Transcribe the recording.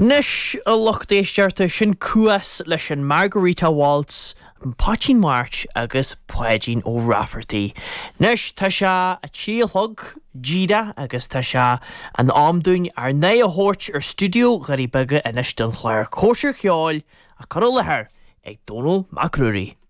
Anois, a lucht éisteachta, sin Cuas leis an Margarita Waltz, an Poitín March agus Páidín Ó Raifeartaigh. Anois, tá sé a 3 a chlog díreach agus tá sé in am dúinn ár n-aghaidh a thabhairt ar stiúideo Dhoirí Beaga anois don chlár Cóisir Cheoil á cur i láthair ag Dónall Mac Ruairí.